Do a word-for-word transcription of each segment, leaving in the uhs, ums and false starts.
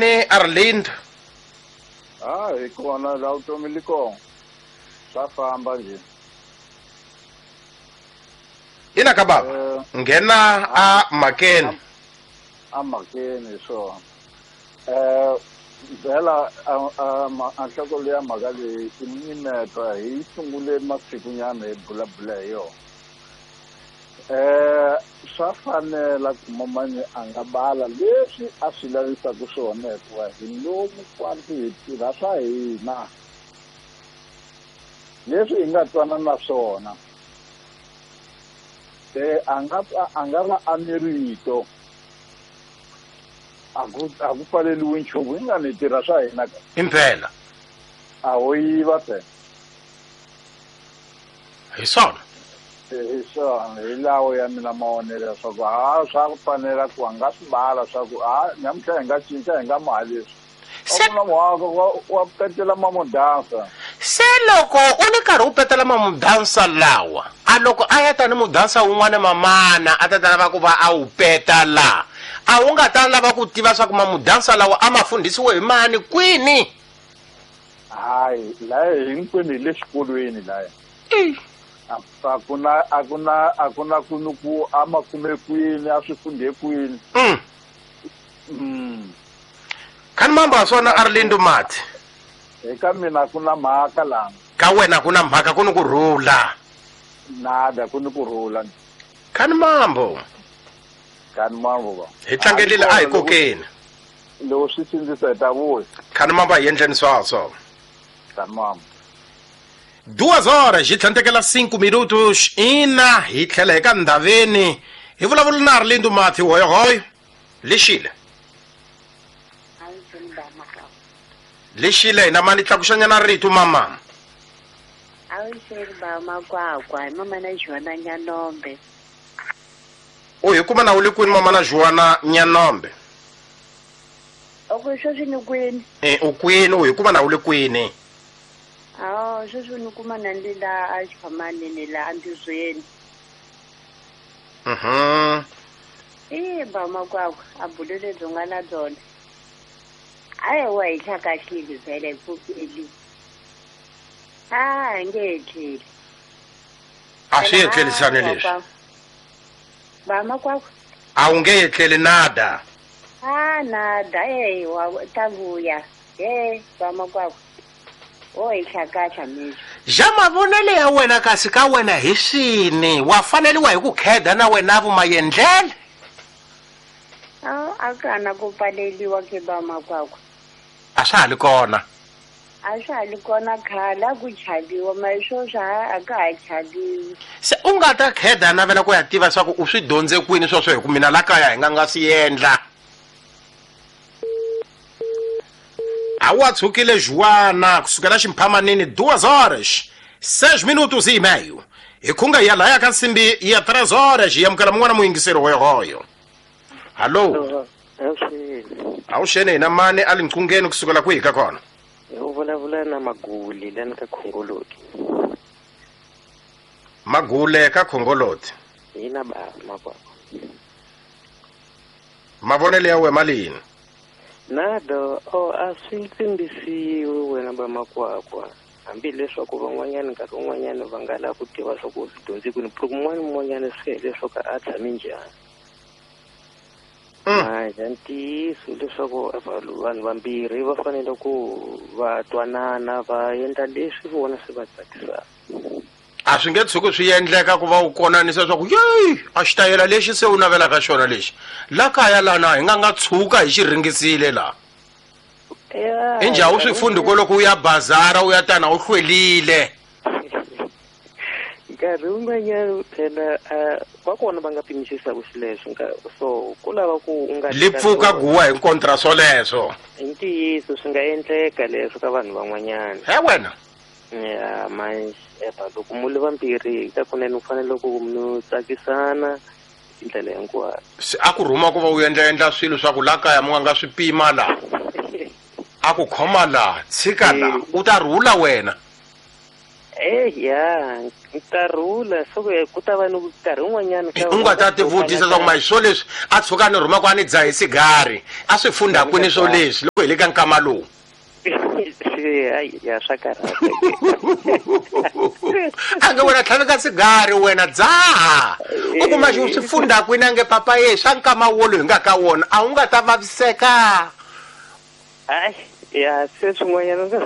Ni Arlindo. Ah, hi kona la vutomi li kona. Swa famba nje. Ina ka baba. Nghena a makeni. A makeni so. Eh vela a a nhloko leya mhaka leyi i mimetwa hi sungule masikunyana hi bulabula hi yona. Eh swa fanela ku mamani a nga bala leswi a swi lavisaka swona hikuva hi lomu kwanti hi tirha swa hina leswi hi nga twana na swona. Eh a nga a nga va a ni rito a ku a ku pfaleliwi nchumu hi nga ni tirha swa hina ka impela a ho yiva phela hi swona hi swona hi lawo ya mina mavonelo leswaku ha swa ku fanela ku a nga swi bala swa ku ha namuntlha hi nga cinca hi nga mali leswi Se- a ku na muhaka wa petela mamudansa se loko u ni karhi u petela mamudansa lawa a loko a ya tani mudansa wun'wana mamana a ta ta lava ku va a wu peta la a wu nga ta lava ku tiva swa ku mamudansa lawa a ma fundhisiwe hi mani kwini hayi laya hinkwenu hi le xikolweni laya a ku na a ku na a ku na ku ni ku a ma kume kwini a swi fundhe kwini mm. mm. Khani mamba swona Arlindo Mati eka mina ku na mhaka lana ka wena ku na mhaka ku ni ku rhula nada ku ni ku rhula khani mambo khani mambo ba hi tlangelile a hi kokeni loko swi sindzisa hi ta vuya khani mambo a hi endleni swaswo khani mambo duas horas hi tlhantekela cinco minutos ina hi tlhela hi ka ndhaveni hi vulavula na Arlindo Mati hoyohoyo lexile lexile hina mani tlakuxanyana rito mama Awuxeni ba makwakwa hi mama na Joana Nyanombe. U hi kuma na u le kwini mama na Joana Nyanombe? Oku sweswi ni kwini? Eh u kwini u hi kuma na u le kwini? Ah, sweswi ni kuma na ndi la a xiphamanini la andizweni. Mhm. Eh ba makwakwa a bulo lebyi nga na byona. Ayi wa hi hlakahlile vhele hi pfukeli. Ah, nge etleli. A swi etlelisani leswi. Ba makwakwa. A wu nge etleli nada. Ah, nada eh wa ta vuya. Eh ba makwakwa. O hi hlakahla mixo. Ja mavonelo ya wena kasi ka wena hi swini wa faneliwa hi ku kheda na wena vumayendlele. Ah, a kana ku pfaleliwa ke ba makwakwa. A swa ha li kona. A swa ha li kona khale a ku chaviwa ma sweswi a ka ha chaviwi. Se u nga ta kheda navela ku ya tiva swa ku u swi dyondze kwini sweswo hi ku mina la kaya hi nga nga swi endla. A wa tshukile Joana kusukela ximphamanini duas horas seis minutos e meio. Hi khunga ya laya ka nsimbi ya três horas hi amukela mun'wana muyingiseri hoyohoyo. Hallo. Awuxeni hina mani a le nqungeni kusukela kwihi ka kona? U vulavula na Magule lani ka Khongoloti. Magule ka Khongoloti. Hina ba makwakwa. Mavonelo ya wena malini? Nada, o a swi tsimbisiwi wena ba makwakwa. Hambileswaku van'wanyana nkarhi wun'wanyana va nga lava ku tiva swa ku swi dyondze kwini, ku un'wana un'wanyana swi ya leswaku a tshame njhani. Manje ntiyiso leswaku vanhu vambirhi va fanele ku va twanana va endla leswi vona swi va tsakisaka. A swi nge tshuki swi endleka ku va u konanisa leswaku yeyi a xitayela lexi se u navelaka xona lexi la kaya lana hi nga nga tshuka hi xi ringisile la. Injhe a wu swi fundi kwaloko u ya bazara u ya tana u hlwelile. Nkarhi wun'wanyana phela va kona va nga pimisisaka xileswo so ku lava ku u nga li pfuka guwa hi kontra swoleswo. I ntiyiso swi nga endleka leswo ka vanhu van'wanyana. He wena ya manje loko mu le vambirhi ka kunene u fanele ku mi tsakisana hi ndlela hinkwayo. Se a ku rhuma ku va u endla endla swilo swa ku la kaya mu nga nga swi pima la a ku khoma la tshika la u ta rhula wena. Eh ya ta rhula so ku ta va ni nkarhi wun'wanyana u nga ta tivutisa swa ku ma swo leswi a tshuka ni rhuma ku a ni dzahi sigari a swi fundha kwini swo leswi loko hi le ka nkama lowu. Hayi ya swa karhata. A nge wena tlhaveka sigari wena dzaha. U kuma xi swi funda kwini a nge papa ye swa nkama wolo hi nga ka wona a wu nga ta vaviseka. Hayi ya se swin'wanyana nga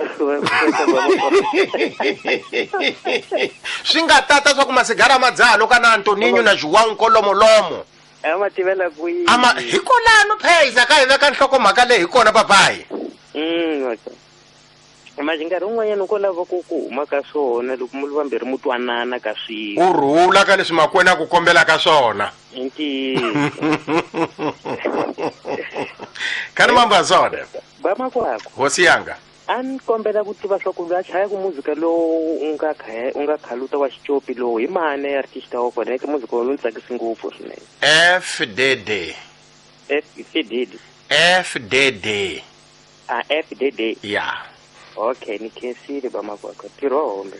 swi nga tata swa ku masigara ma dzaha loko na Antoninho na João Nkolomolomo. A ma tivela kwihi? Ama hi kolano pheza ka hi veka nhlokomhaka leyi hi kona papayi. Mm okay. Manje nkarhi wun'wanyana ko lava ku ku huma ka swona loko mu vambirhi mu twanana ka swilo. U rhula ka leswi makwena a ku kombela ka swona. I ntiyiso. Kani mamba zona. Ba makwako. Hosi yanga. A ni kombela ku tiva swa ku loyi a chayaka muzika lowu u nga kha u nga khaluta wa xicopi lowu hi mani artist wa kona eka muzika lowu ni tsakisi ngopfu swinene. F D D. F D D. F D D. A F D D. Yeah. Ok, ni khensile ba makwako. Ntirho hombe.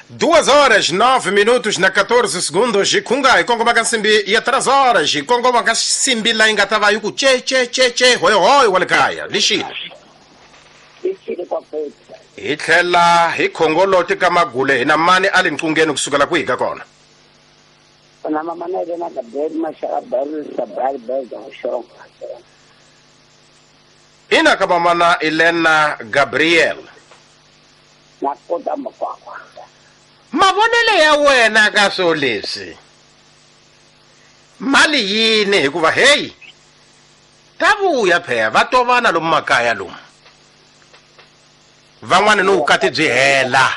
Duas horas, nove minutos na quatorze segundos. Kunga hi kongoma ka nsimbi ya três horas. Hi kongoma ka nsimbi laha yi nga ta va yi ku che che che che hoy hoy wa le kaya. Lixile. Hi tlhela hi khongoloti ka magule hi na mani a le nqungeni kusukela kwihi ka kona. Na mama na yena Gabriel Mashaka Barry Sabari Belga Xonga. Ina ka mama na Elena Gabriel. Na kota makwakwa. Mavonelo ya wena ka swo leswi. Mali yini hikuva hey ta vuya phela va tovana lomu makaya lomu. Van'wana ni vukati byi hela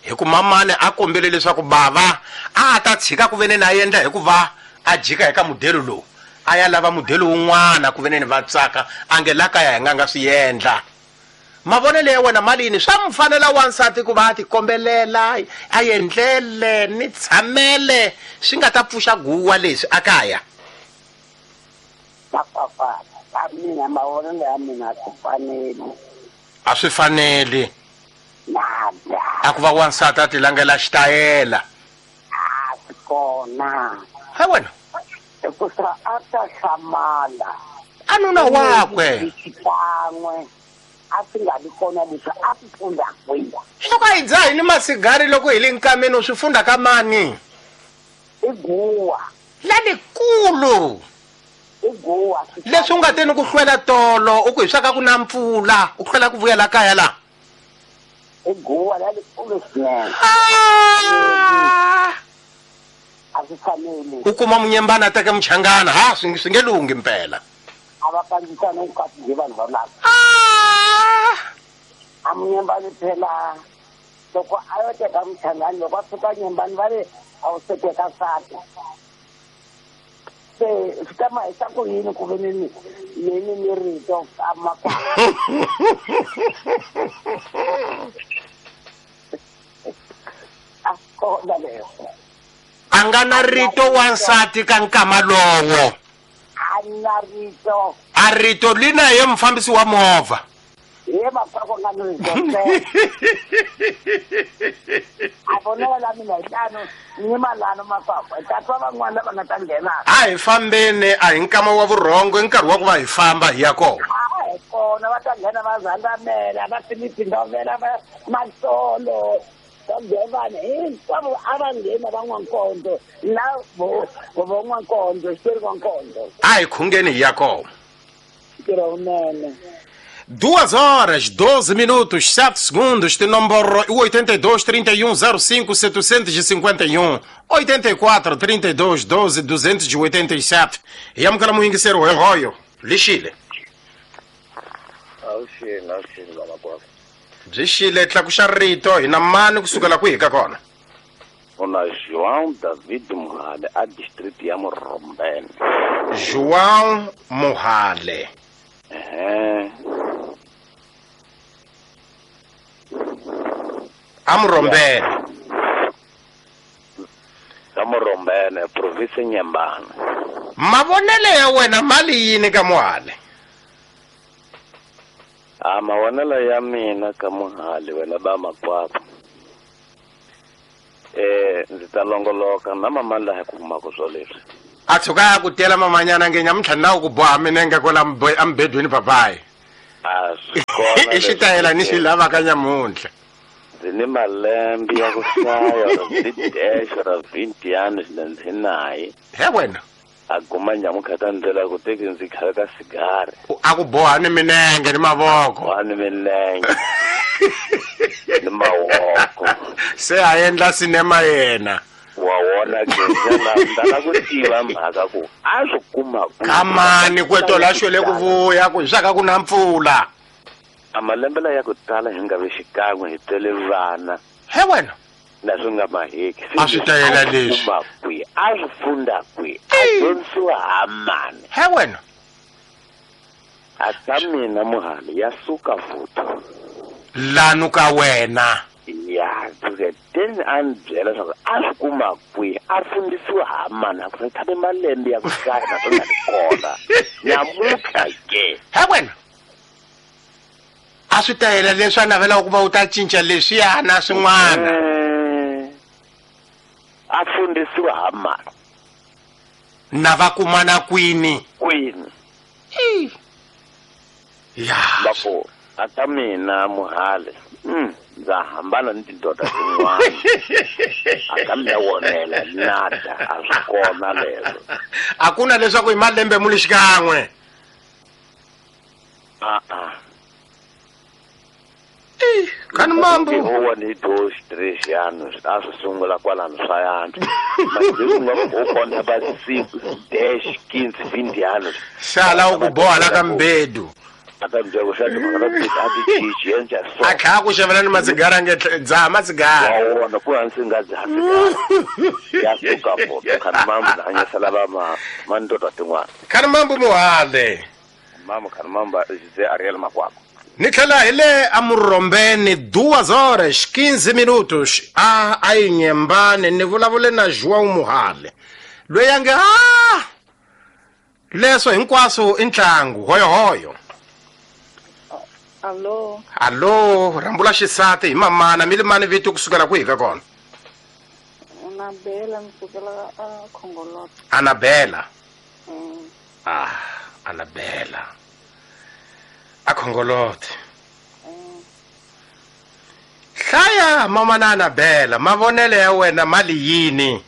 hi ku mamani a kombele leswaku bava a ta tshika ku vene na endla hikuva a jika eka mudelo lowu a ya lava mudelo wun'wana ku vene ni va tsaka a nge la kaya hi nga nga swi endla. Mavonelo ya wena mali yini swa mfanela wansati ku va a tikombelela a endlele ni tshamele swi nga ta pfuxa guwa leswi a kaya. Papa, ka mina mavonelo ya mina ku fanele. A swi faneli. Nada. A ku va wansati a tilangela xitayela. A swi kona. Ha wena. Hikusa a ta hlamala. A nuna wakwe. Xikan'we. A swi nga vi kona leswi a swi funda kwihi. Loko a hi dzahi ni masigari loko hi le nkameni u swi funda ka mani? I guwa. Lalikulu. I guwa. Leswi u nga teni ku hlwela tolo u ku hi swa ka ku na mpfula u hlwela ku vuyela kaya la. I guwa lalikulu swinene. A swi faneli. U kuma munyembana a teka muchangana ha swi swi nge lunghi mpela. A va kandzisana vukati byi vanhu va lava. A munyembani phela loko a yo teka muchangani loko a fika nyembani va ri a wu se teka nsati. Se swi ta ma hisa ku yini ku ve ni ni ni ni rito ka makwakwa. A kona leswo. A nga na rito wansati ka nkama lowo. A na rito. A rito lina ye mufambisi wa movha. Ye makwakwa nga ni rito. A vonela la mina hi tano ni malano makwakwa. Ta twa van'wana lava nga ta nghena. A hi fambeni a hi nkama wa vurhongo i nkarhi wa ku va hi famba hi ya kona. A hi kona va ta nghena va zandamela va Philip Ndovela va Masolo. Vanhu hinkwavo a va nghena va N'wankondo na vo vo N'wankondo xitori N'wankondo. A hi khungeni hi ya kona. Ntirho wunene. Duas horas, doze minutos, sete segundos, tem número oitenta e dois, trinta e um, zero cinco, setecentos e cinquenta e um, oitenta e quatro, trinta e dois, doze, duzentos e oitenta e sete. E amukela muyingiseri hoyo, lixile. Awuxile, awuxile vamakwavo. Byi xile tlakuxa rito hi na mani kusukela kwihi ka kona? Una João David Muhale a district ya Murombeni. João Muhale. Ehe. A Murombeni. Ka Murombeni, province Nyembana. Mavonelo ya wena mali yini ka Muhale? A mavonelo ya mina ka Muhale wena ba makwakwa. Eh ndzi ta longoloka na mama laha ku humaka swo leswi. A tshuka a ku tela mamanyana nge nyamuntlha na ku boha minenge kwala embedweni papayi. A swi kona I xitayela ni xi lavaka nyamuntlha. Ndzi ni malembe ya ku hlaya ndzi dash ra vinte anos na ndzinayi. He wena. A guma nyamuntlha ta ndlela ku teki ndzi khale ka sigari. A ku boha ni minenge ni mavoko. Boha ni minenge. Ni mavoko. Se a endla sinema yena. Wa wona ke ndza ku tiva mhaka ku a swi kuma ku. Kamani kweto la xwele ku vuya ku swa ka ku na mpfula. A malembe la ya ku tala hi nga ve xikan'we hi tele vana. He wena. Na swi nga maheki. A swi tayela leswi. Kuma kwi a swi funda kwi a dyondzisiwa ha mani. He wena. A ta mina muhali ya suka futhi. Lanu ka wena. Ya tuke ten a ni byela leswaku a swi kuma kwihi a fundisiwa ha mani a ku tshame malembe ya ku hlaya na swi nga ri kona nyamuntlha ke. He wena. A swi tayela leswi a navelaka ku va u ta cinca leswiya na swin'wana. A fundisiwa ha mani. Na va kumana kwini? Kwini. Ya. Loko a ta mina muhali. Mm. Ndza hambana ni tindoda tin'wana. A ka mina wonela nada a swi kona leswo. A ku na leswaku hi malembe mu li xikan'we. A a. Eh, kani mambo. Huwa ni dois, três anos, a swi sungula kwalano swa yantswa. Manje nga ku kona ba cinco, dez, quinze, vinte anos. Sala u ku boha la ka mbedu. A ta byela ku xa timhaka ta ti a ti cinci endla so. A kha ku xavela ni masigara nge dzaha masigara. Wa wona ku hansi nga dzaha sigara. Ya suka foto khani mambo na hanyisela va ma mandoda tin'wana. Khani mambo muhale. Mambo khani mambo José Ariel Makwakwa. Ni tlhela hi le amurhombeni duas horas quinze minutos a a yi nyembane ni vulavule na João Muhale loyi a nge a leswo hinkwaswo i ntlangu hoyohoyo. Allo. Allo, rambula xisati hi mamana mi limani vito kusukela kwihi ka kona? Anabela kusukela a Khongolot. Anabela. Mm. Ah, Anabela. A Khongolot. Mm. Hlaya mama na Anabela, mavonele ya wena mali yini?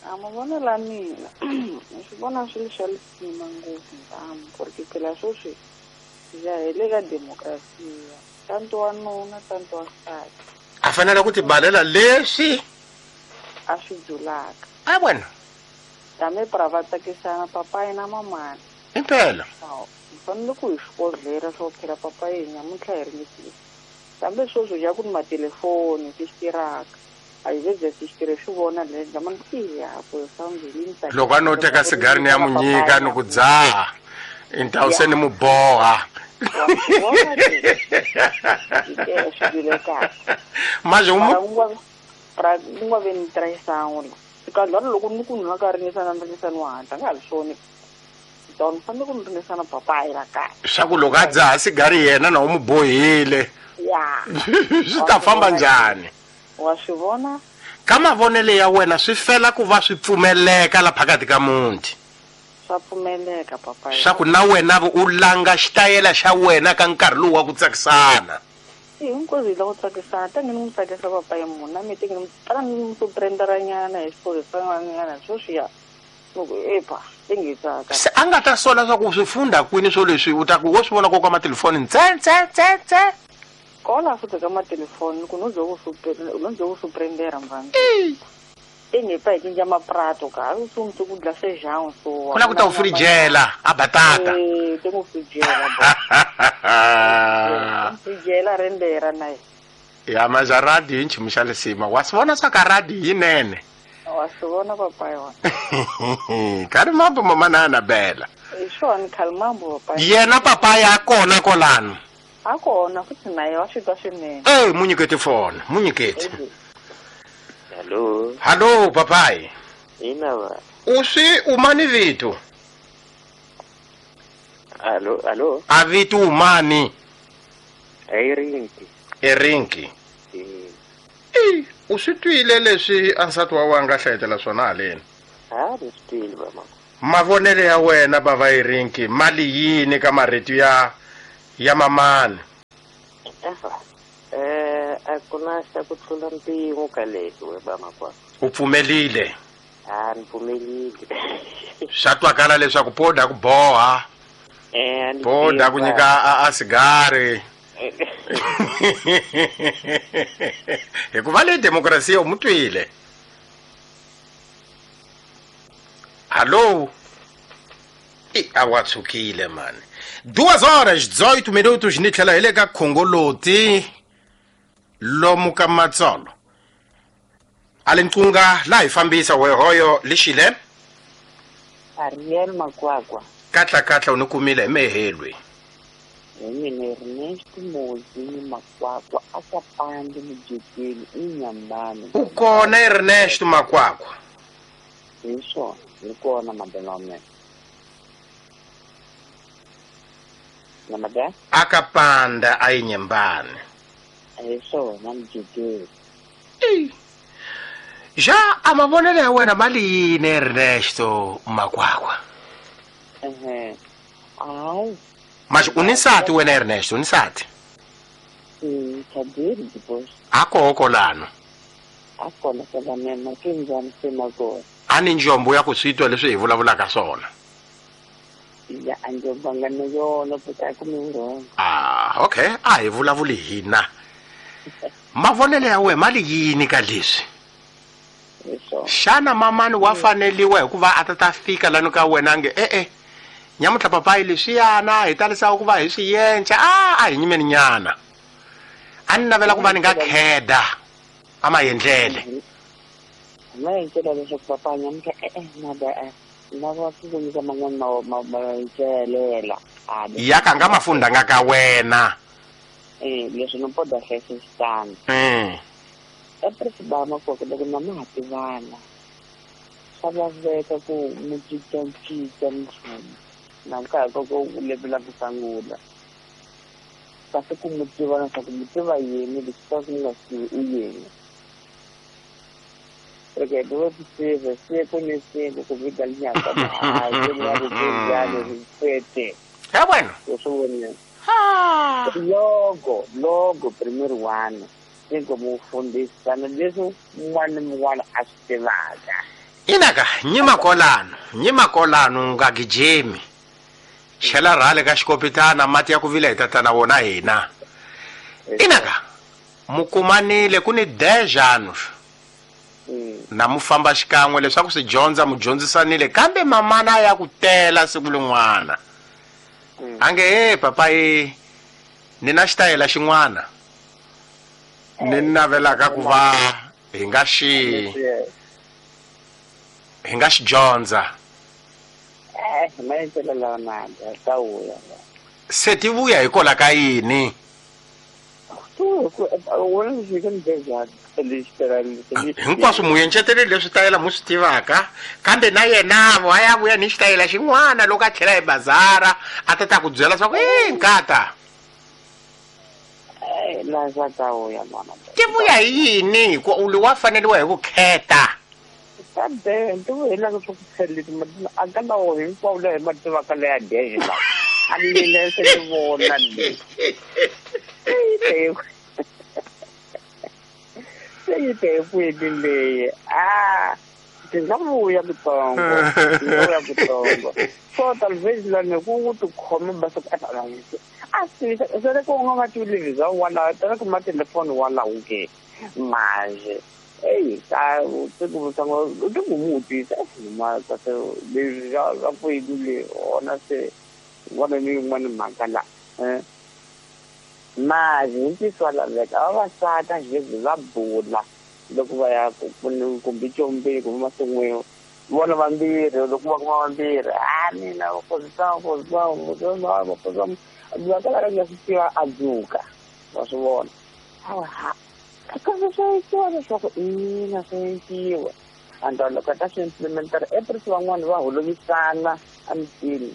A mavonelo ya mina. Ni swi vona swi ri swa lisima ngopfu ntamu, porque phela sweswi ya hi le ka demokrasiya tanto wa nuna tanto wa nsati a fanele ku tibalela leswi a swi dzulaka. A wena tame pra va tsakisana papayi na mamana impela hi fanele ku hi swikodlela swo phela papayi nyamuntlha hi ringetile kambe sweswo ya ku ni matelefoni ti swi tirhaka a hi ze ti swi tirhe swi vona le mani ya ku loko a no teka sigari ni ya mu nyika ni ku dzaha então se ni mu boha. Mas um pra ku nga ve ni traição la loko ni ku nwa ka ringisana ringisana wa hatla nga ha swi don fanele ku ringisana papayi la kaya swa ku loko a dzaha sigari yena na u mu bohile ya swi ta famba njhani? Wa swi vona ka mavonelo ya wena swi fela ku va swi pfumeleka la phakathi ka muti. Swa pfumeleka papayi swa ku na wena u langa xitayela xa wena ka nkarhi lowu wa ku tsakisana. Hinkwaswo hi la ku tsakisana ta nge ni n'wi tsakisa papayi munhu na mi tenge tala ni n'wi surprenderanyana hi swiphorhisanyana sweswiya loko epa tenge hi tsaka. Se a nga ta sola swa ku swi funda kwini swo leswi u ta ku wo swi vona ko ka matelefoni ntse ntse ntse ntse kola futhi ka matelefoni ku no ze ku no ze ku surprendera mvana tenge pa hi cinca maprato ka a swi ku dla feijão so ku la ku ta u frijela a batata eh te ku frijela frijela rendera na ya maja radio hi nchumu xa lisima wa swi vona swa ka radio yinene wa swi vona papayi wa kari mambo mama na Anabela hi swona khali mambo papayi yena papayi a kona kolano a kona futhi na ye wa swi twa swinene eh munyiketi fona munyiketi. Hello. Hello papai. Ina va. Uswi umani vito? Allo, allo. A vito umani? Erinki. Erinki. Eh. Eh, uswi twile leswi a nsati wa wena nga hlayetela swona haleni? Ha, ni swi twile baba. Mavonelo ya wena bava Erinki, mali yini ka marito ya Ya mamani. Eh a ku na xa ku tlula mpimo ka leswi we ba makwakwa. U pfumelile? A ni pfumelile. Swa twakala leswaku poda ku boha. Eh poda ku nyika a sigari. Hikuva le demokrasiya u mutwile. Alô? E awatsukile mani. Duas horas dezoito minutos ni tlhela hi le ka Khongoloti lomu ka Matsolo. A le nqunga la hi fambisa wehoyo lexile. Ariel Makwakwa. Katla katla u ni kumile hi mehelwe. Hi mina Ernest Mozi Makwakwa a ka pandi mujekeni inyambani. U kona Ernest Makwakwa? Hi swona, ni kona madena wa mina. Namada? Akapanda ayinyembani. Hi swona mujekeni. Ja amavonelo ya wena mali yini Ernesto Makwakwa? Ehe. Hayi. Mas unisati wena Ernesto, unisati? Mm, tadiri depois. Akoko lano. Akona phela mina kinjani semakona. Ani njombo ya ku switwa leswi hi vulavulaka swona. Ya anjomba nga na yona futhi akumi wrong. Ah, okay. A hi vulavuli hina. Mavonelo ya wena mali yini ka leswi? Xana mamani wa faneliwa hikuva a ta ta fika lano ka wena nge eh eh nyamutlha papayi leswiyana hi talisa ku va hi swi yenca a a hi nyimeni nyana a ni navela ku va ni nga kheda a maendlele ma endlela leswaku papa nyamutlha eh eh nada eh lava ku ku nyika man'wana ma maendlela ya ka nga mafundanga ka wena eh leswi no poda hlayisa xitandi mm epresi ba Makwakwa loko na ma ha tivana swa laveka ku mi cincacinca nchumu na nkarhi ka ku u levela ku sungula kasi ku mi tiva leswaku mi tiva yini leswi ka ku mi nga swi tivi i yini reke dove tive siku ni siku ku vika linyaka hayi ya rikujalo ripete ya bueno swi vona logo logo premier one tiko mufundisana leswi un'wana ni un'wana a swi tivaka. Inaka nyima kolano nyima kolano nga gijimi chela rhale ka xikopitana mati ya ku vila hi tatana wona hina. Inaka mukumanile ku ni dez anos na mu famba xikan'we leswaku swi dyondza mu dyondzisanile kambe mamana ya ku tela siku lin'wana a nge he papayi ni na xitayela xin'wana ni navelaka ku va hi nga xi hi nga xi dyondza. Eh maendlelo lawa na ta vuya se ti vuya hikwalaho ka yini? Hinkwaswo mu enceteleli leswi tayela mu swi tivaka kambe na yena vo a ya vuya ni xitayela xin'wana loko a tlhela hi bazara a ta ta ku byela swa ku e nkata ti vuya hi yini hikuva u wa faneliwa hi vukheta kambe ti vuhelaka swa ku pheleti a ka lawo hinkwawo laha hi ma tivaka leya dexe lawa a mina se ni vona le se yi te kwini leyi a ti nga vuya kutsongo ti nga vuya kutsongo so talvez lani ku tikhome basa ku a swi se ku nga va tivi bya wala tana ku ma telefoni walawo ke manje ei ta ku sango ti ku mutisa ma ta se leswi swa kwini le ona se vona ni yin'wana mhaka la eh manje hi ntiyiso wa laveka vavasati a xi va bula loko va ya kumbe combeni kumbe masin'wini vona vambirhi loko va kuma vambirhi a mina va nga swi tiva a dzuka wa swi vona hawa ha kasi swa endliwa leswaku ina swa endliwa and loko a ta swi implementera eprisi van'wani va holovisana emitini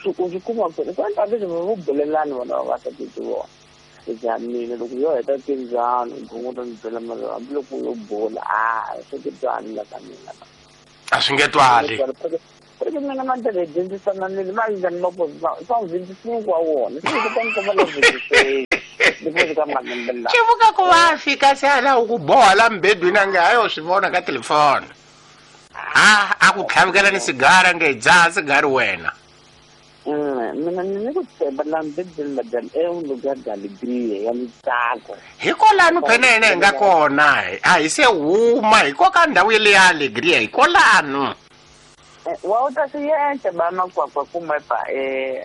swi ku swi kuma ku ku endla leswi vo bulelani vona vavasati ti vona ja mina loko yo heta tindzano gongo ni byela mara hambiloko yo bula a swi ti twali la ka mina a swi nge twali. Porque mina mandele dyondzisana ni ma njhani ma são vinte e cinco a wona se ku ta va vinte e seis depois ka malembe lawa xivuka ku va fika se ala ku boha la mbedwini a nge hayo swi vona ka telefoni a a ku tlhavikela ni sigara nge dzaha sigari wena. Mina ni ku tshemba la mbedwini madam é um lugar de alegria ya ntsako hikwalano phenene hi nga kona a hi se huma hikoka ndhawu yele ya alegria hikwalano. Wa u ta swi endla ba makwakwa kumbe pa eh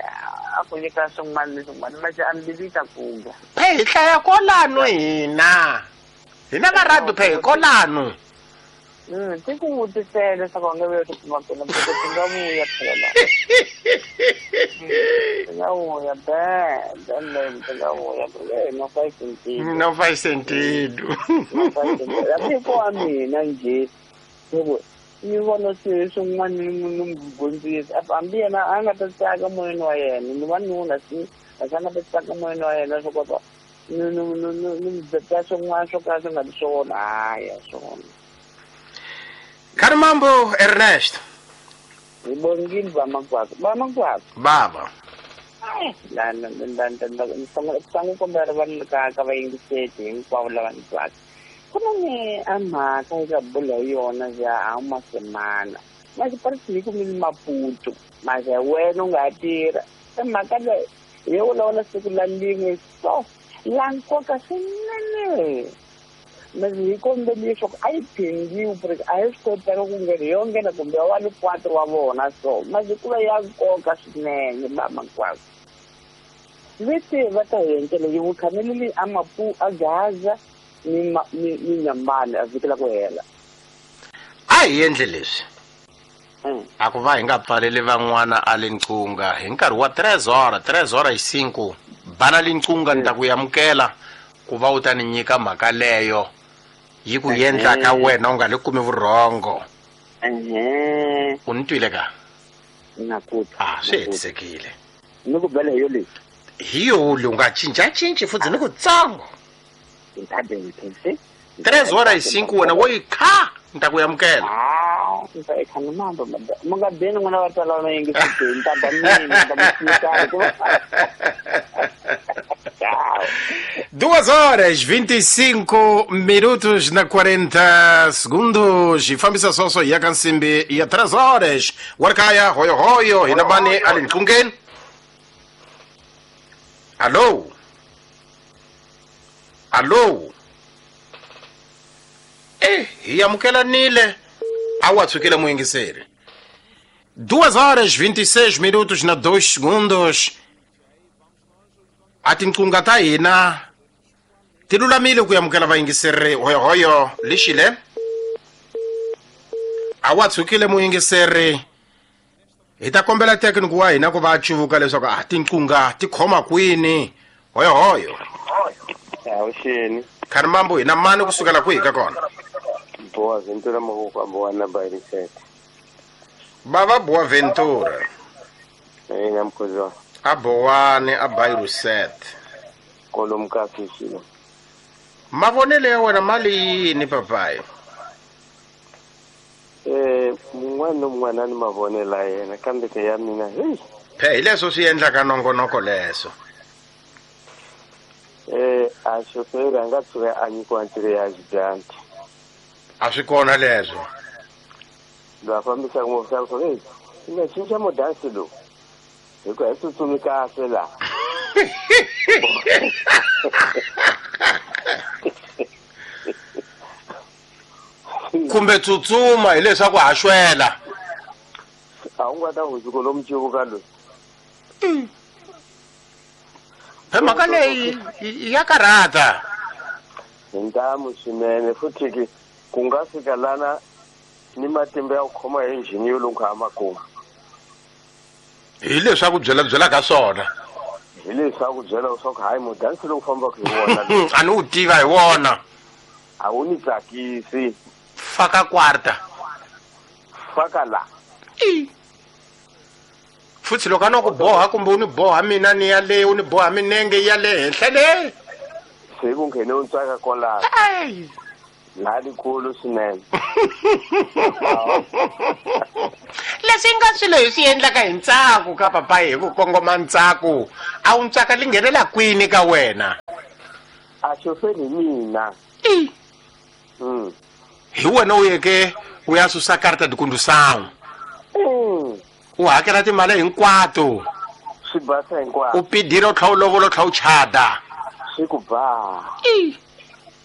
a ku nyika swin'wana ni swin'wana mase a mbilu ta kuga phe hi hlaya kwalano hina hina va radio phe hi kwalano. Mm ti ku vutisela leswaku a nge vuya ku kuma kona porque ti nga vuya phela ti nga vuya be then ti nga vuya porque não faz sentido não faz sentido não faz sentido hambi ko wa mina njhe loko ni vona swilo swin'wana ni n'wi dyondzisa hambi yena a nga ta tsaka moyeni wa yena ni wanuna si a nga ta tsaka moyeni wa yena swo kota ni ni ni ni byela swin'wana swo ka swi nga ri swona hayi swona. Karimambo Ernest hi bongile ba makwakwa ba makwakwa baba la la la la sangu kombela vanhu ka ka vayingiseti hinkwavo lava ni twaka ku na ni a mhaka eka bula hi yona ya a masemana mase parisi ku mi Maputo mase wena u nga tirha e mhaka leyi hi yo vulavula siku la lin'we so la nkoka swinene mase hi kombeli leswaku a yi phindiwi porque a hi swi kotaka ku nghena yo nghena kumbe wa ni quatro wa vona so mase ku va ya nkoka swinene ba makwakwa leti va ta hi endlela yi vukhameleli a Mapu a Gaza ni ni ni nyambani a vhiki la ku hela a hi endle leswi a ku va hi nga pfaleli van'wana a le nqunga hi nkarhi wa tres horas tres horas hi cinco bana le nqunga ni ta ku amukela ku va u ta ni nyika mhaka leyo yi ku endla ka wena u nga le kumi vurhongo. U ni twile ka na ku a swi hetisekile ni ku bela hi yo leyi hi yo u nga cincacinci futhi ni ku tsango tres horas e cinco wena wo yi kha ni ta ku amukela. Ah ni ta yi kha ni mambo mi nga beni n'wina va twala va yingiseti ni ta ba mina ni ta mi Duas horas, vinte e cinco minutos na quarenta segundos. E fambisa soso ya kansimbi ya três horas. Warkaya, hoyo hoyo, hinabani alinqungen. Alô? Alô? Eh, yamukela nile. Awatsukile muyingiseri. Duas horas, vinte e seis minutos na dois segundos. A tinqunga ta hina ti lulamile ku amukela vayingiseri hoyohoyo lixile a wa tshukile muyingiseri hi ta kombela thekiniki wa hina ku va a cuvuka leswaku a tinqunga ti khoma kwini hoyohoyo. Avuxeni Kharimambo hina mani kusukela kwihi ka kona Boa Ventura Mavoko Boa Barisete Bava Boa Ventura eh namkhozwa a Boane a Bairusete kolomu ka fishilo mavonelo ya wena mali yini papayi eh mun'wana na mun'wana ni mavonelo ya yena kambe ke ya mina hey phe hi leswo swi endlaka nongonoko leswo eh a xoferi a nga tshuka a nyikiwa ntirho ya xidyandzi a swi kona leswo loyi a fambisaka movha swa hey i nga cinca modansi lowu hikuva hi tsutsumi kahle laha kumbe tsutsuma hileswaku ha xwela a wu nga ta hundzuka lomu civuka loyi phe mhaka leyi ya karhata hi ntamu swinene futhi ke ku nga fika lana ni matimba ya ku khoma hi injhini yo lungha a makumu hi leswaku byela byela ka swona hi leswaku byela leswaku hayi mudansi lowu fambaka hi wona a ni wu tiva hi wona a wu ni tsakisi faka quarta faka la futhi loko a no ku boha kumbe u ni boha mina ni ya le u ni boha minenge ya le henhla le se ku nghene u ntsaka kwalaho Lalikulu swinene. Leswi nga swilo hi swi endlaka hi ntsako ka papayi hi ku kongoma ntsako a wu ntsaka li nghenela kwini ka wena? A xoferi hi mina. Mm. Hi wena u yeke u ya susa karta de condução. Mm. U hakela timali hinkwato. Swi basa hinkwaswo. U pidile u tlhela u lovola u tlhela u chada. Swi ku ba.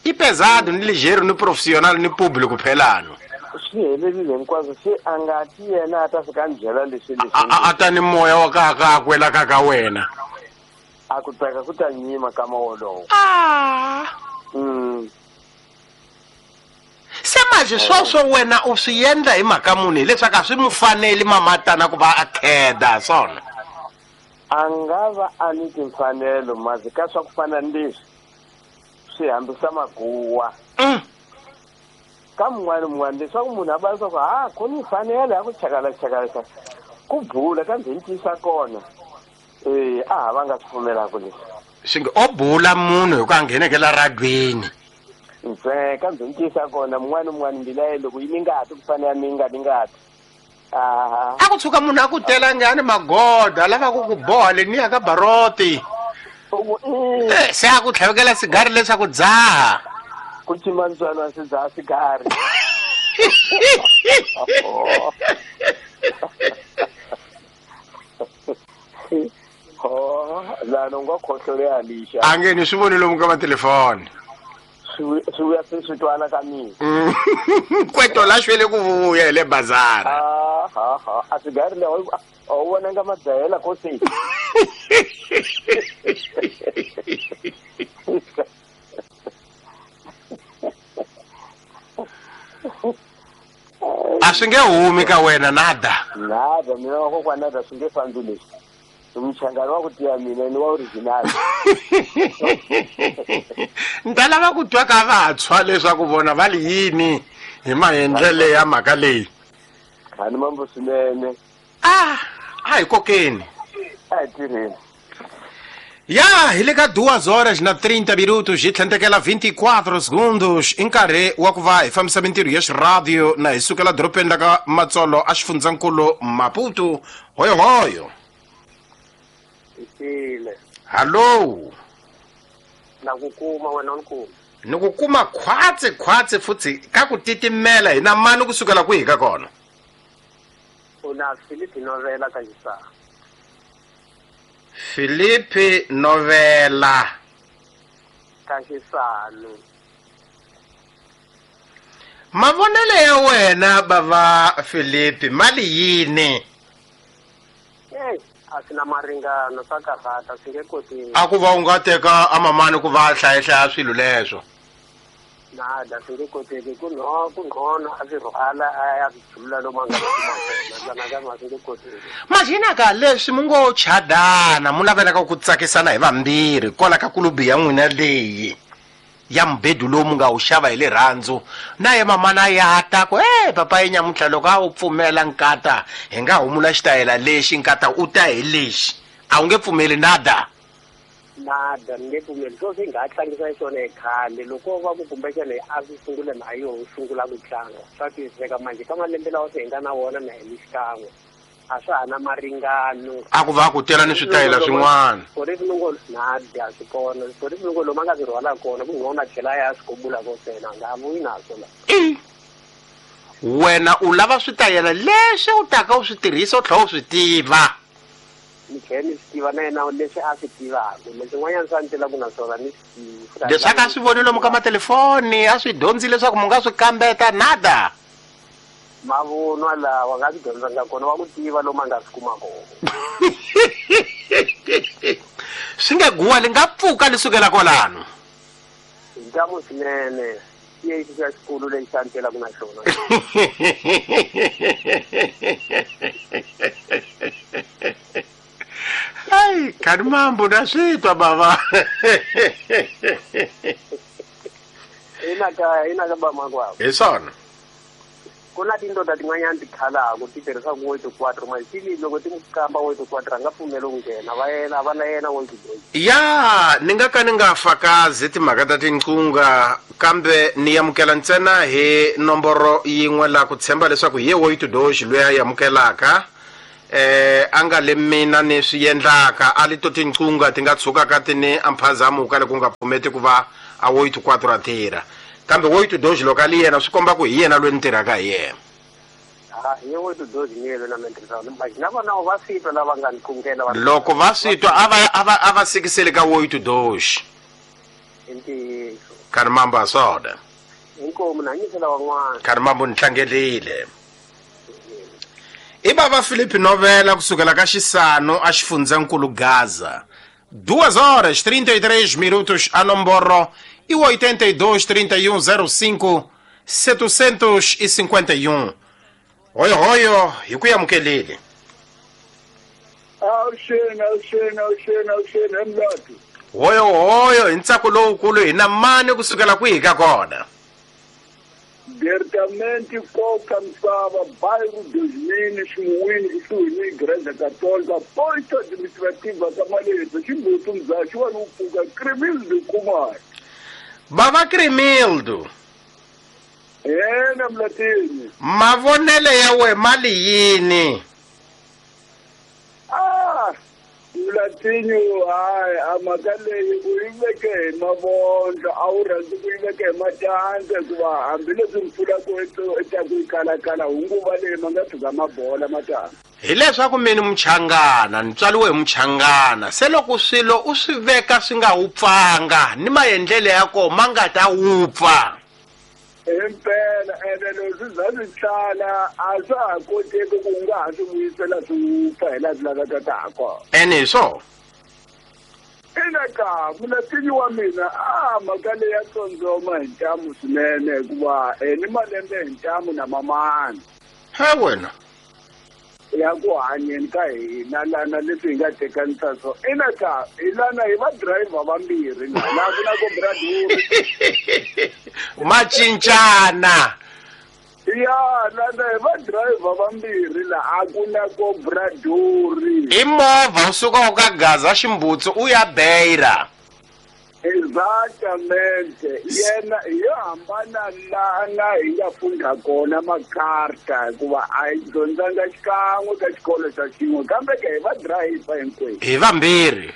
I pesado ni ligeiro ni profissional ni público phelano. Swi helerile hinkwaswo se a nga ti yena a ta fika a ni byela leswi leswi. A ta ni moya wa ka ka kwela ka ka wena. A ku tsaka ku ta nyima ka wolowo. Ah. Mm. Se manje sweswo wena u swi endla hi mhaka muni hileswaku a swi mu faneli mamatana ku va a kheda swona? A nga va a ni timfanelo mazi ka swa ku fana ni leswi swi hambisa maguwa. Mm. Ka mun'wana mun'wana leswaku munhu a va leswaku ha ku ni mfanelo ya ku chakala chakala ku bula kambe hi ntiyisa kona eh a ha va nga swi pfumelaka leswi. Swi nge o bula munhu hi ku a nghenekela radweni. Ntsena kambe hi ntiyisa kona mun'wana mun'wana mbilu ya yena loko yi ni ngati ku fana ya mi nga ni ngati. Aha. A ku tshuka munhu a ku tela ngani magoda a lava ku ku boha leniya ka baroti. Eh, se a ku tlhavekela sigari leswaku dzaha. Ku cima ntswalo a swi dzaha sigari. Oh, la no nga khohlole ya lixa. A nge ni swi voni lomu ka matelefoni. Swi swi vuya se swi twana ka mina. Kweto la xwele ku vuya hi le bazara. Ah, ha ha, a sigari leyi a wu vonanga madzahela ko se. A swi nge humi ka wena nada. Nada, mina wa kokwana nada swi nge fambi leswi. Mchangano wa ku tiya mina ni wa original. Ni ta lava ku twa ka vantshwa leswaku vona va li yini hi maendlele ya mhaka leyi. Khani mambo swinene. Ah, a hi kokeni. A hi tirheni. Ya, hi le ka duas horas na trinta minutos hi tlhentekela vinte e quatro segundos i nkarhi wa ku va hi fambisa mintirho ya xiradio na hi sukela dorobeni la ka Matsolo a xifundzankulu Maputo. Hoyohoyo. Hallo. Na ku kuma wena u ni kuma. Ni ku kuma khwatsi khwatsi futhi ka ku titimela hi na mani kusukela kwihi ka kona? U na Filipe Novela ka Xisana. Filipe Novela ka Xisana. Mavonelo ya wena bava Filipe mali yini? Eh, a swi na maringano swa karhata swi nge koteki. A ku va u nga teka amamani ku va hlaya hlaya swilo leswo. Nada swi nge koteki ku no ku ngcono a swi rhwala a ya swi jula lomu a nga swi kuma kona kambe swi nge koteki. Majina ka leswi mu ngo chadana mu navelaka ku tsakisana hi vambirhi kwala ka kulubi ya n'wina leyi ya mbedu lowu mu nga wu xava hi rirhandzu na ye mamana ya ta ku e papa yi nyamuntlha loko a wu pfumela nkata hi nga humula xitayela lexi nkata u ta hi lexi a wu nge pfumeli nada. Nada ni nge pfumeli swo swi nga tlangisa xona hi khale loko va ku kumbexana a swi sungula na yo sungula ku tlanga swa twisiseka manje ka malembe lawa se hi nga na wona na hi xikan'we a swa ha na maringano. A ku va ku tela ni switayela swin'wana. Switori nada swi kona switori swin'wana lomu a nga swi rhwala kona ku ngona tlhela ya swi kobula ko sena nga vuyi naswo la. Wena u lava switayela leswi u taka u swi tirhisa u tlhela u swi tiva. Ni tlhela ni swi tiva na yena leswi a swi tivaka leswin'wanyana swa ni telaka na swona ni swi tivi. Leswaku a swi voni lomu ka matelefoni a swi dyondzi leswaku mu nga swi kambeta nada. Mavunwa lawa nga swi dyondzanga kona wa ku tiva lomu a nga swi kuma kona. Swi nge guwa li nga pfuka li sukela kwalano. Hi ntamu swinene i lexi xa xikulu lexi xa ni telaka na xona. Ai, khani mambo na swi twa bava. Ina ka ina ka bamakwavo. Hi swona. Ku na tindoda tin'wanyana ti khalaku ti tirhisaka oito quatro maxili loko ti n'wi kamba oito quatro a nga pfumeli ku nghena va yena va na yena oito dois. Ya ni nga ka ni nga fakazi timhaka ta tinqunga kambe ni amukela ntsena hi nomboro yin'we la ku tshemba leswaku hi ye oito dois loyi a yi amukelaka eh a nga le mina ni swi endlaka a li to tinqunga ti nga tshukaka ti ni amphazamuka loko nga pfumeti ku va a oito quatro a tirha kambe oito dois loko a li yena swi komba ku hi yena loyi ni tirhaka hi yena. Ah hi oito dois ni yena na mina mas na vona va swi twa lava nga ni kungela va loko va swi twa a va a va a va sikiseli ka oito dois i ntiyiso karhi mamba swona inkomu na nyisela van'wana karhi mambo ni tlangelile. I bava Filipe Novela kusukela ka Xisano a xifundzankulu Gaza. Duas horas trinta e três minutos a nomboro e oitenta e dois, trinta e um, zero cinco, setecentos e cinquenta e um. Oyo oyo hi ku amukelile. Awuxeni awuxeni awuxeni awuxeni emlatu. Oyo oyo hi ntsako lowukulu hi na mani kusukela kwihi ka kona. Diretamente koka misava bairro dos Minas Ximuwini kusuhi ni Igreja Católica posto administrativa ka Maleza Ximbutu Mzaxi wa Lupuka Cremildo Kumar. Bava Cremildo. Yena Mlatini. Mavonele ya we mali yini? Ah, Mlatini hayi a mhaka leyi u yi veke hi mavondlo a wu rhandzi ku yi veke hi matandza hikuva hambileswi mpfula ku etaku yi kalakala hunguva leyi ma nga tshuka mabola matandza. Hileswaku mina muchangana ni tswariwe hi muchangana se loko swilo u swi veka swi nga wupfanga ni maendlelo ya kona ma nga ta wupfa. Impela ene leswi za swi tlala a swa ha koteki ku nga ha swi vuyisela swi wupfa hi laha swi lavekaka ha kona. Ene hi swona. Ina ka mulatini wa mina a mhaka leyi ya tsondzoma hi ntamu swinene hikuva ni malembe hi ntamu na mamani. He wena. Ya ku hanyeni ka hina lana leswi hi nga tekanisa so ina ka hi lana hi va driver vambirhi la ku na ku braduri ma cincana ya lana hi va driver vambirhi la a ku na ku braduri i movha u suka u ka Gaza Ximbutsu u ya Beira. Exactamente yena yo hambana lana hi nga funda kona makarta hikuva a hi dyondzanga xikan'we ka xikolo xa xin'we kambe ke hi va driver hinkwenu hi vambirhi.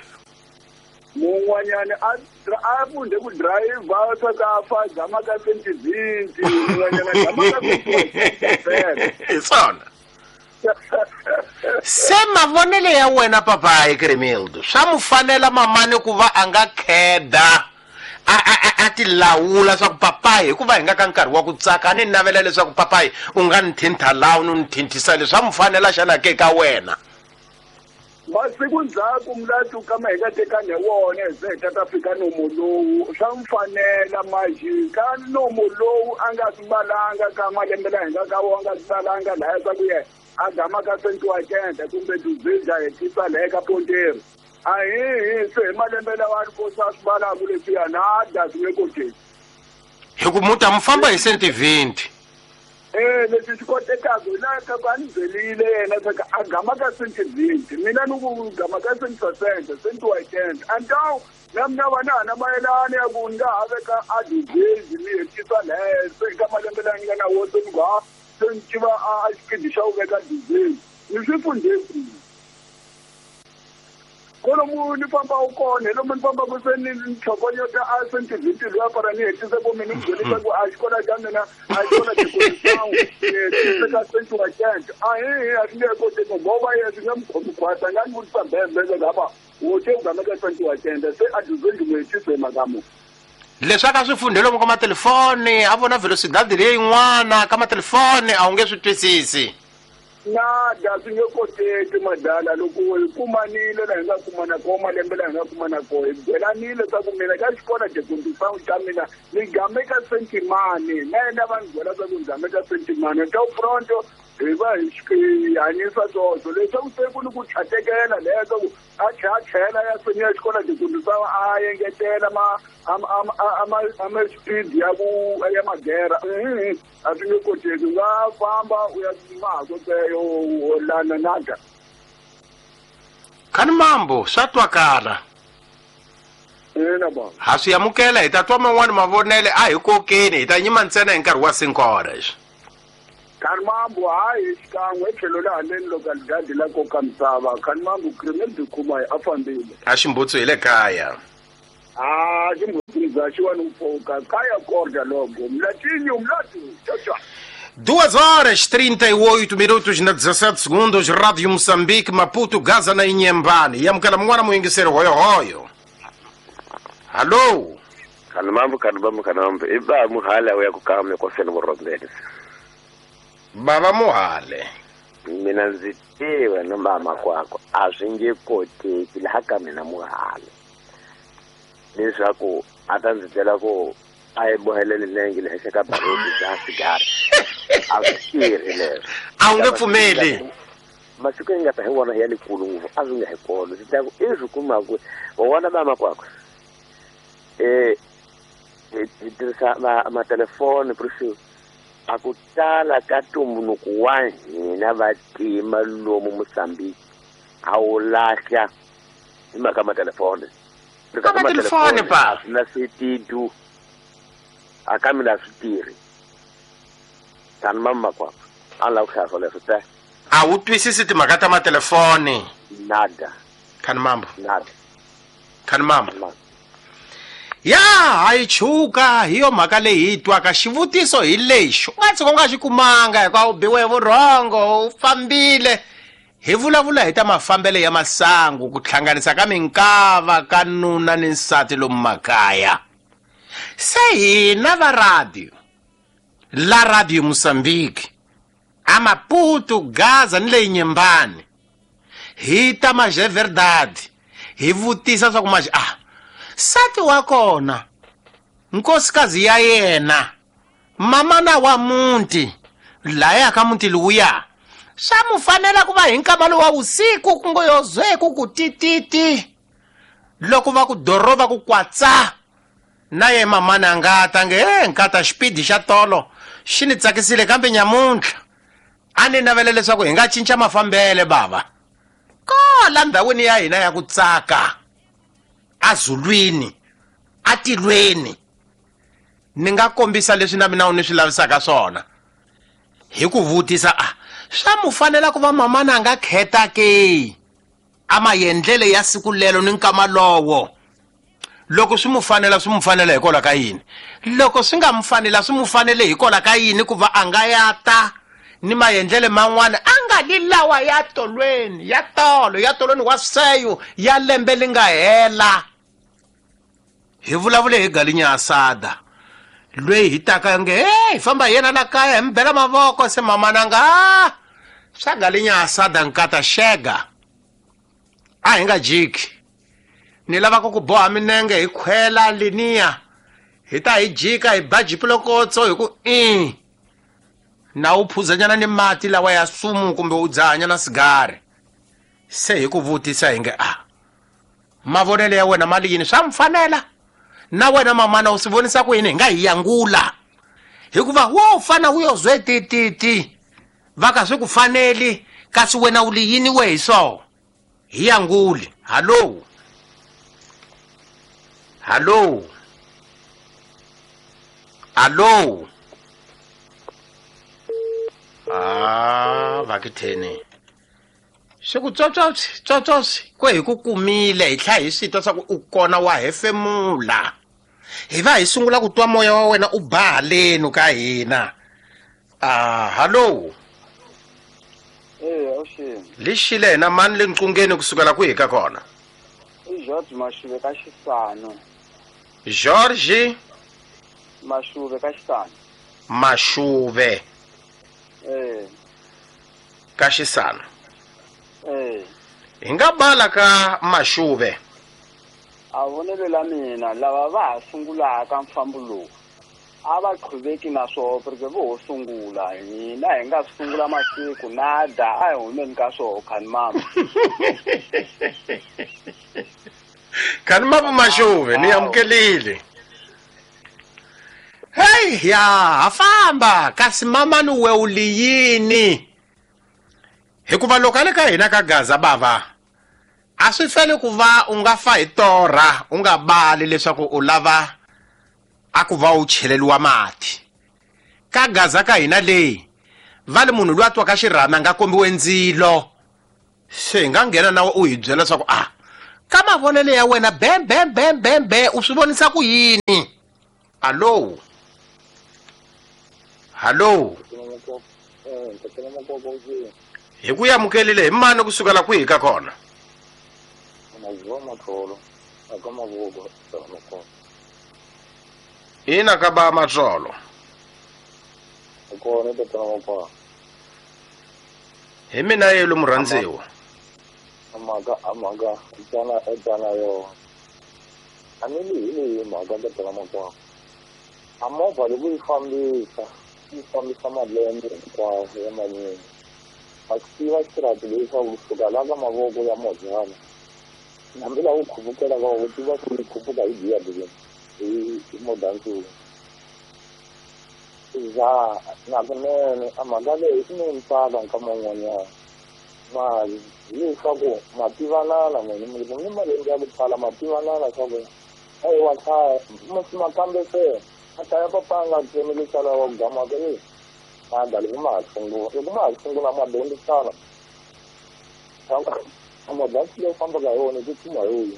Mun'wanyana a a funde ku driver swa ka fa gama ka sentivinti mun'wanyana gama ka hi swona. Se mavonele ya wena papayi Cremildo swa mu fanela mamani ku va a nga kheda a a a ti lawula swa ku papayi hikuva hi nga ka nkarhi wa ku tsaka a ni navela leswaku papayi u nga ni thintha laha u ni thinthisa leswi swa mu fanela xana ke ka wena. Masiku ndzhaku mulatu kama hi nga tekani hi wona hi ze hi ta ta fika nomo lowu swa mu fanela maxi ka nomo lowu a nga swi valanga ka malembe laha hi nga ka wona a nga swi valanga lahaya swa ku yena a gama ka cento oitenta kumbe duzenza hetisa laha ka Ponteiro a hi hi se hi malembe lawa a ri kosa a swi valaku leswiya nada swi nge koteki hi ku muta mu famba hi cento vinte. Eh leswi swi kotekaka hi laha ka ku a ni byerile yena swa ku a gama ka cento vinte mina ni ku gama ka cento sessenta cento oitenta então na mina va na ha na mayelana ya ku ni nga ha veka a duzenzi ni hetisa laha se ka malembe laha ni nga na wona se ni ku ha se ni tiva a xipidi xa ku veka duzenzi ni swi fundhe kwihi kolomu ni fambaka kona hi lomu ni fambaka se ni ni tlhokonyota a cento vinte luya para ni hetise ku mina ni byelisa ku a xikolo xa mina a xikolo xikolisangu ni hetise ka cento oitenta a hi hi a swi nge koteki ngoba yena swi nge mu khomi khwatsi a nga ni vutisa mbembele lava wo te u gama ka cento oitenta se a duzenzi mu hetise hi mhaka muni. Leswi a ka swi fundhe lomu ka matelefoni a vona velocidade leyin'wana ka matelefoni a wu nge swi twisisi. Nada swi nge koteki madala loko hi kumanile laha hi nga kumana kona malembe laha hi nga kumana kona hi byelanile swa ku mina ka xikolo xekundisangu xa mina ni game ka sentimani na yena va ni byela swa ku ni game ka sentimani ta pronto hi va hi hanyisa swoswo leswaku se ku ni ku tlhatekela leswaku a tlhe a tlhela ya senior xikolo tikundisa a engetela ma ama speed ya ku ya magera a swi nge koteki u nga famba u ya ma ha koteyo lana nada Khani mambo swa twakala ina baba ha swi amukela hi ta twa man'wani mavonele a hi kokeni hi ta nyima ntsena hi nkarhi wa cinco horas Khani mambo hayi xikan'we etlhelo la haleni localidade la koka misava khani mambo criminal dikuma a fambile a ximbutsu hi le kaya a ximbutsu bya xiwani mpfuka kaya korda logo mlatinho mlatu tchau. Duas horas, trinta e oito minutos na dezassete segundos, Rádio Moçambique, Maputo, Gaza na Inhambane. Yamukela mwana muingisero hoyo hoyo. Alô? Kanamambo, kanamambo, kanamambo. Iba muhale uya kukame kwa sena murondele. Baba muhale. Mina nzitiwe no mama kwako. Ashinge kote kila haka mina muhale. Leswaku atanzitela ko a bohelele nenge le ka barodi za sigara. A swi leswo. A wu nge pfumeli. Masiku yi nga ta hi wona ya likulu ngopfu a swi nga hi kona swi ta ku i swi kumaku wa vona mama kwakwe eh hi tirhisa matelefoni precious a ku tala ka ntumbuluko wa hina vatima lomu Mozambique a wu lahla hi mhaka matelefoni ka matelefoni pa a swi na switidu a ka mina swi tirhi tani mama kwakwe a ni lava ku hlaya swoleswo te a wu twisisi timhaka ta matelefoni nada khani mambo nada khani mambo ya hayi chuka hi yo mhaka leyi hi twaka xivutiso hi lexi u nga tshuka u nga xi kumanga hikuva u biwe vurhongo u fambile hi vulavula hi ta mafambele ya masangu ku hlanganisa ka minkava ka nuna ni nsati lomu makaya se hina va radio la Radio Mozambique a Maputo Gaza ni le Inhambane hi ta maje verdade hi vutisa swa ku maje ah sati wa kona nkosikazi ya yena mamana wa munti laya ka munti luya swa mu fanela ku va hi nkama wa usiku ku ngo yozwe ku tititi loko va ku doroba ku kwatsa na ye mamana nga ta nge eh nkata xipidi xa tolo xi ni tsakisile kambe nyamuntlha a ni navela leswaku hi nga cinca mafambele baba kola ndhawini ya hina ya ku tsaka azulwini atilweni ni nga kombisa leswi na mina u ni swi lavisaka swona hi ku vutisa a swa mu fanela ku va mamana a nga kheta ke a maendlele ya siku lelo ni nkama lowo loko swi mu fanela swi mu fanela hikwalaho ka yini loko swi nga mu fanela swi mu fanele hikwalaho ka yini ku va a nga ya ta ni maendlele man'wana a nga li lawa ya tolweni ya tolo ya tolweni wa seyo ya lembe li nga hela hi vulavule hi galinya asada lweyi hi taka nge hey famba yena la kaya hi mi bela mavoko se mamana nga swa galinya asada nkata xega a hi nga jiki ni lava ku ku boha minenge hi khwela liniya hi ta hi jika hi ba jipilokotso hi ku i na u phuzanyana ni mati lawa ya sumu kumbe u dzahanyana sigari se hi ku vutisa hi nge a mavonelo ya wena mali yini swa mi fanela na wena mamana u swi vonisa ku yini hi nga hi yangula hikuva wo fana u yo zwe tititi va ka swi ku faneli kasi wena u li yini we hi so hi yanguli hallo hallo hallo ah vakitheni swi ku tsotsotsi tsotsotsi ku hi ku kumile hi tlha hi swi twa swa ku u kona wa hefemula hi va hi sungula ku twa moya wa wena u ba haleni ka hina ah hallo eh awuxini lexile hina mani le nqungeni kusukela kwihi ka kona i George Mashuve ka Xisano George Mashuve ka Xisano Mashuve eh ka Xisano eh hi nga bala ka Mashuve a vonelo la mina lava va ha sungulaka mfambo lowu A va qhuveki na swoho porque vo ho sungula hina hi nga sungula masiku nada a hi humeni ka swoho khani mama. Khani mama Maxuve ni amukelile. Hey ya ha famba kasi mama ni we u liyini. Hikuva loko a le ka hina ka Gaza bava a swi fele ku va u nga fa hi torha u nga bali leswaku u lava a ku va u cheleliwa mati. Ka Gaza ka hina leyi va le munhu loyi a twaka xirhami a nga kombiwe ndzilo. Se hi nga nghena na u hi byela leswaku a ka mavonelo ya wena bem bem bem bem be u swi vonisa ku yini. Allo hallo hi ku amukelile hi mani kusukela kwihi ka kona? Ina ka ba Matsolo. Hi mina yelo murhandziwa. Mhaka a mhaka tsana tsana yo. A ni li hi mhaka ka tsana makwa. A movha loko yi fambisa yi fambisa malembe hinkwawo ya manyingi. A swi tiva xirati leswaku kusuka la ka mavoko ya mozana hambi laha u khupukela ka u tiva ku yi khuphuka hi giya bileni hi modansuku. Za na kunene a mhaka leyi i ni ntsaka nkama wun'wanyana mali hileswaku ma tivanana n'wina mi ni malembe ya ku tala ma tivanana swa ku eyi wa hlaya ma kambe se a hlaya papa a nga tsemi leswi wa ku gamaka e mada loko ma ha sungula loko ma ha sungula ma dyondzisana a modansi leyi fambaka hi wona ku tshuma hi wona.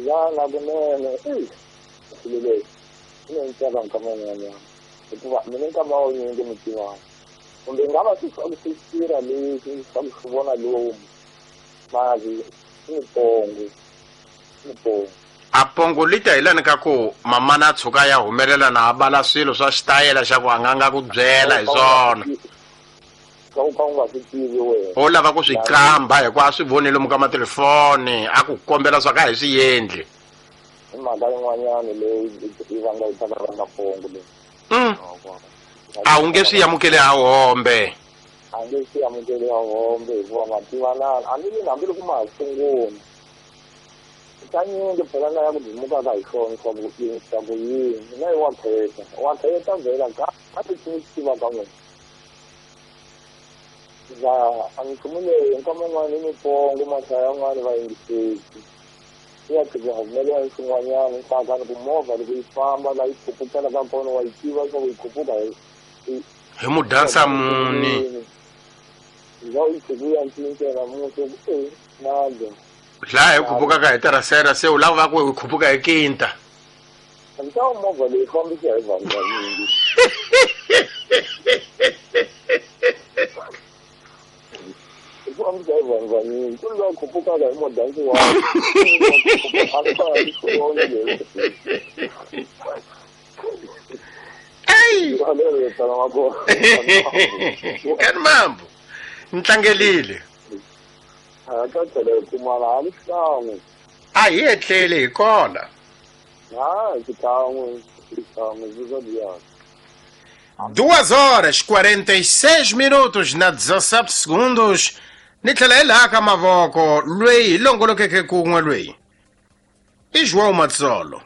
Za na kunene e swilo leswi i ni ntsaka nkama wun'wanyana hikuva mina nkama wunyingi mi tivana kumbe nga va swi swi tirha leswi swa ku swi vona lomu mali i mipongo mipongo. A pongo li ta hi lani ka ku mamana a tshuka ya humelela na a bala swilo swa xitayela xa ku a nga nga ku byela hi swona. Ka u ka u nga swi tivi wena. O lava ku swi qamba hikuva a swi voni lomu ka matelefoni a ku kombela swa ka hi swi endli. I mhaka yin'wanyana leyi yi vanga yi taka va mapongo leyi. A wu nge swi amukeli ha hombe. A nge swi amukeli ha hombe hikuva ma tivanana a ni hambi loko ma ha sungula. Kanyingi phela na ya ku dimukaka hi swona swa ku swa ku yini mina i wa kheta wa kheta vhela ka a ti swi tiva ka n'wina. Za a nchumu leyi nkama wun'wana i mipongo mahlaya yan'wana va yingiseki ya tika humelela hi swin'wanyana ntsaka ni ku movha loko yi famba la yi khupukela ka kona wa yi tiva swa ku yi khuphuka hi hi mudansa muni. Za u yi tshuku ya cinca namuntlha ku e nada. Laha hi khupukaka hi terasera se u lava va ku hi khuphuka hi kinta. Ntawo movha leyi fambisa hi vanhu vanyingi. Yi fambisa hi vanhu vanyingi ku loyi a khupukaka hi modansi wa Ei! Kani mambo ni tlangelile. A ka tlhela hi kumana a ni xikan'we. A hi etleli hi kona. Ha xikan'we xikan'we swi Duas horas quarenta e seis minutos na dezessete segundos. Ni tlhela hi laha ka mavoko lweyi hi longolokeke kun'we lweyi i João Matsolo.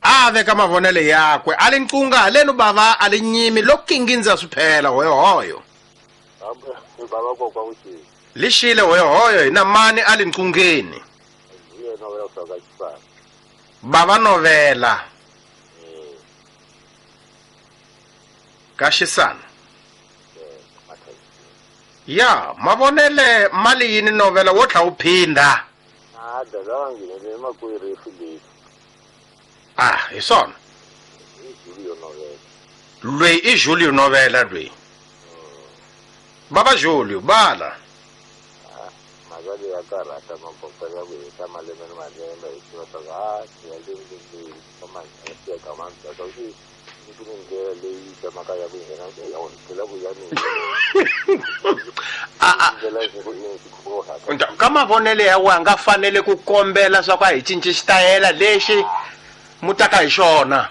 A veka mavonelo yakwe a li nqunga halenu bava a li nyimi lo kingindza swi phela hoyohoyo. Baba kokwa ku xile. Lixile hoyohoyo hina mani a li nqungeni. Hi yena wa ka xisana. Bava novela. Ka xisana. Ya mavonele mali yini novela wo tlha u phinda. A dada ngine makwerhu leyi. Ah, hi swona. I Julio Novela. Lweyi i Julio Novela lweyi. Baba Julio bala. Mhaka leyi ya karhata makoka ya ku heta malembe ni malembe hi tiva swa ku a ya leyi ya ka mandzhaku ku ku ni ndlela leyi tsemaka ya ku nghena ya tlhela ku ya mina. A a ka mavonelo ya wena nga fanele ku kombela swa ku a hi cinci xitayela lexi mutaka hi xona.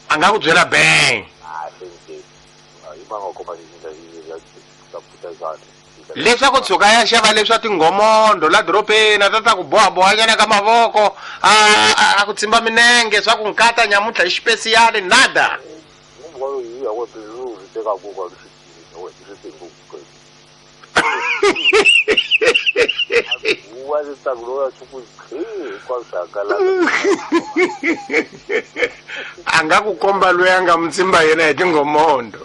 A nga ku byela bang leswaku tshuka ya xava leswa tinghomondo la dorobeni a ta ta ku bohabohanyana ka mavoko a a ku tsimba minenge swa ku nkata nyamuntlha hi xipesiyali nada. A nga ku komba loyi a nga mutsimba yena hi tinghomondo.